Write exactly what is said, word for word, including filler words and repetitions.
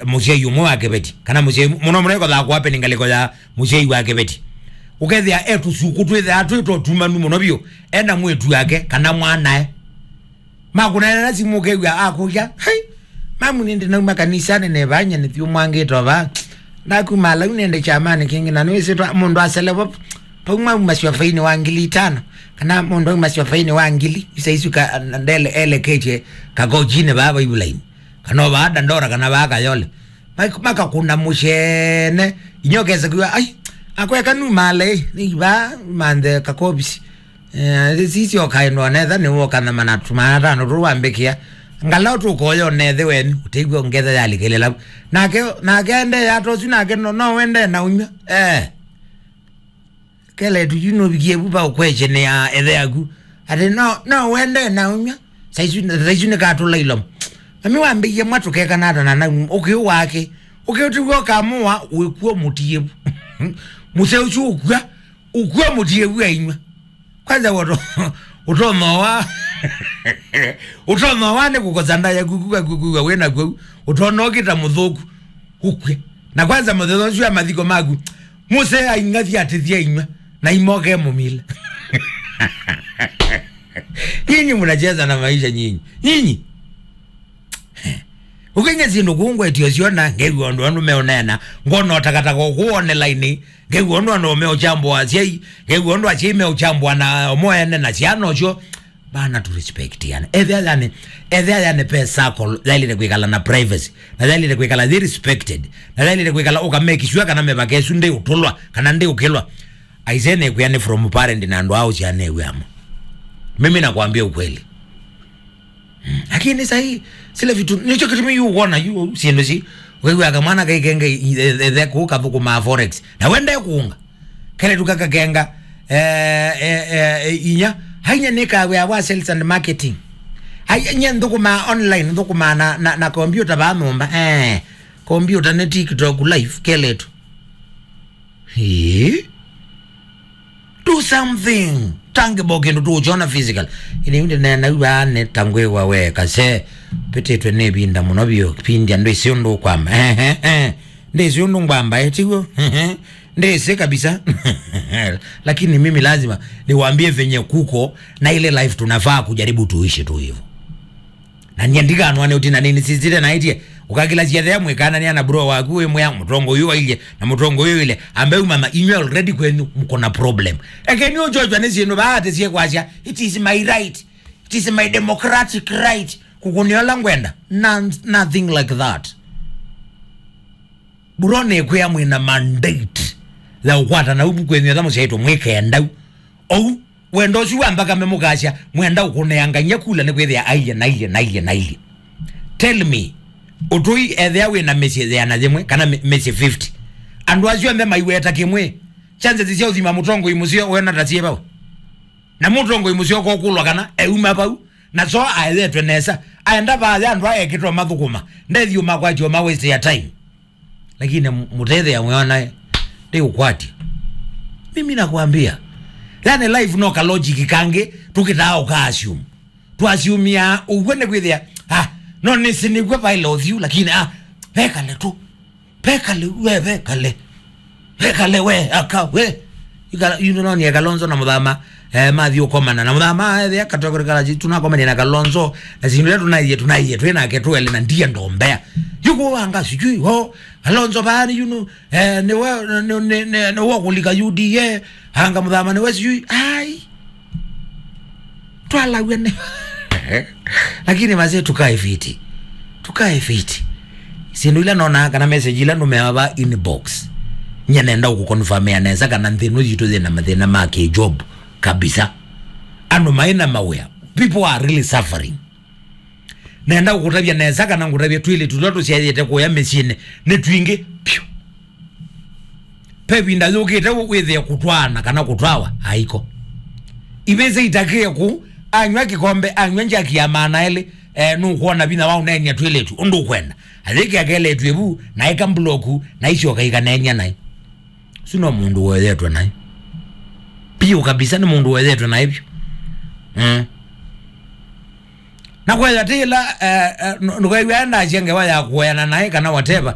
mũsyai ũmwe wa kĩveti, kana mũsyai mũno mũno ĩkothaa kũape nĩ ngalĩko ya mũsyai wa kĩveti. Ũkethĩa e tũsuku twĩthĩaa twĩ twa tumanu mũno vyũ, e na mwĩtu wake kana mwanae. Makũneena simũ ũkew'a akũlya, "Hai, mamu nĩndĩ nauma kanisanĩ nevanya nĩthiũmwangĩte ova. Ndakuma lau nĩndĩ kyamanĩ kĩngĩ na nĩwĩsĩ twa mũndũ aselevo pauma uma syofainĩ wa ngili itano, kana mũndũ auma syofainĩ wa ngili, isaisu ka ndele eleketye kakochinĩ vaa vaivulaini, kana ovaa Dandora kana vaa Kayole." Mak- makakũna mũsyene, inya ũkesa kwĩwa, "Ai, akweka numale, nĩ ivaa manthe kakovisi." Eh, sisyo kaĩ ndonetha nĩ woka na manatu maatano tũ wambĩkĩa. Ngala ũtũkoya ũnethe weni, ũtĩw'e ngetha yalikĩlĩla. Nake, nake ende yatosu nake no, no wende na ũnywa. Eh. Keletu yu nũvikie vu va ũkwekye nĩ ya ethe yaku. Ati no, no wende na ũnywa. Saisu, saisu nĩ katũla ilomo. Mami wambĩie mwa tũkekana ata na nau, ũkĩũ wake. Ũkĩũ tiw'o kamũa, wĩkuo mũtie vu. Mũse ũsu ũkua, ũkua mũtie vu ainywa. Kwanza woto, ũtonoa. Ũtonoa nĩ kũkosa nda yaku, kuka, kuka, kuka, wĩna kwau. Ũtonoa ũkĩta mũthũku. Ũkue. Na kwanza mũthenya ũsu wa mathiko maku, mũse aing'athi atĩthia inywa, na imoke mũmile. Nyinyi mnacheza na maisha nyinyi. Nyinyi. Ũkenya syĩndũ kũu ngwetio syona, ngew'a ũndũ andũ meũneena, ngona ũtakataka ũkũũ online, ngew'a ũndũ andũ meũchambũa asyai, ngew'a ũndũ asyai meũchambũa na omo ene na syana ũsyo. Bana, to respect yani. Ethĩa yani, ethĩa yani pe circle, yailĩte kwĩkala na privacy, na yailĩte kwĩkala they respected, na yailĩte kwĩkala ũka make sure kana mĩvaka ĩsu ndĩũtũlwa, kana ndĩũkĩlwa. Aisee, nĩkwĩa nĩ from parent na andũ ao syana ewĩamo. Mimi nakwambia ukweli. Mm. Lakini sahi, sile vitu, nicho kitu mi yu uona, yu, siendo si, wewe akamwana kaikenge, ethe kuka thuku ma forex. Na wende kuunga. Kele tukaka kenga, eh, eh, eh, inya. Hainya nika we awa sales and marketing. Hainya thuku ma online, thuku ma na, na, na computer ba nyumba. Eh, computer ne TikTok live, kele tu. Hii? Do something tangible, kĩndũ tũũkyona physical. Ĩndĩ yu ndĩneena yu vaa nĩ ta ngwĩw'a we kase, pĩtĩtwe nĩ ĩvinda mũno vyũ, kĩpindi andũ ĩsĩ ũndũ ũkwamba. Ehe, eh. Ndĩsĩ ũndũ ngwamba, eh, tiw'o? Ndĩsĩ kabisa. Lakini mimi lazima niwaambie venye kuko na ile life tunafaa kujaribu tuishi tu hivyo. Na nyie ndikanwa nĩ ũtina nini sisite na itie. Ũkakila ciathea mwĩkanania na bro waku wĩ mwĩa mũtongo ũyũ wailye na mũtongo ũyũ ile. Ambe umama inywe already kwenyu mko na problem. Eke ni ũchochwa nĩ syĩndũ baate sie kwasya. It is my right. It is my democratic right. Kũkũnĩa ũla ngwenda. None, nothing like that. Bro nĩ kwĩa mwĩna mandate ya ũkwatana ubu kwenyu etha mũsyaitwe mwĩkendau. Ou, wendo ũsu wa mbaka memũkasya, mwenda ũkũneangany'a kula nĩ kwĩthĩa aiye, na aiye, na aiye, na aiye. Tell me, ũtũi ethĩa wĩ na mĩsyĩ yĩana yĩmwe, kana mĩ-, mĩsyĩ fifty. Andũ asu onthe maiweta kĩmwe, chances sya ũthima mũtongoi mũseo wena ta syĩ vau. Na mũtongoi mũseo kokũlwa kana euma vau, na so aethetwe nesa, aenda vaya andũ aya ekĩtwa mathũkũma, ndethiũma kwatyo ma waste ya time. Lakini m-, mũtethea mwĩona ndĩũkwatya. Mimi nakwambia. Yani life no ka logic kangĩ tũkĩtaa ũka assume. Twasiumia ũguo nĩ kwĩthĩa, ah, no nĩsĩ nĩguo vaĩla ũthiu, lakini, ah, vekale tu. Vekale, we, vekale. Vekale, we, aka, we. Ikala, you know, ni Kalonzo na Muthama, eh, mathiĩ ũkomana. Na Muthama, eh, ethĩa katokore kala, tunakomania na Kalonzo, na sindu ila tunaithie, tunaithie, twĩ nake twele na ndiye ndombea. Yuko wanga sijui, oh, Kalonzo bani, you know, eh, ni we, ni, ni, ni, ni we kulika U D A, anga Muthama ni we sijui, ai. Twalaw'e nĩ. Lakini mazee, tukae fiti. Tukae fiti. Sindu ila nona kana message ila numeawa va inbox. Nye nenda kukonfirmia nesa kana nthĩ ĩno yitũ yĩna mathĩna ma kĩ-job kabisa. Andũ maĩ na mawĩa. People are really suffering. Nenda kũkũtavya nesa kana ngũtavye twĩlĩ tũla tũsyaĩte kũya mĩsyĩnĩ nĩ twingĩ piũ. Pe vinda yũkĩte wĩthĩe kũtwaana kana kũtwawa aiko. Ivĩsĩ itakĩe kũu, anyw'a kĩkombe, anyw'a njaki ya maana elĩ, eh, nũkwona vinya wa ũneenia twĩlĩtu ũndũ ũkwenda. Ayĩkĩa keletw'e vu, na ĩka mbuloku, na isyoka ikaneenia naĩ. Ũsu no mũndũ woyetwe naĩ. Piũ kabisa nĩ mũndũ woyetwe naĩ vyũ. Mm. Na kwethwa ti ĩla, eh, eh, ndũ-, ndũkew'a ndasya ngewa ya kũoyana naĩ kana whatever,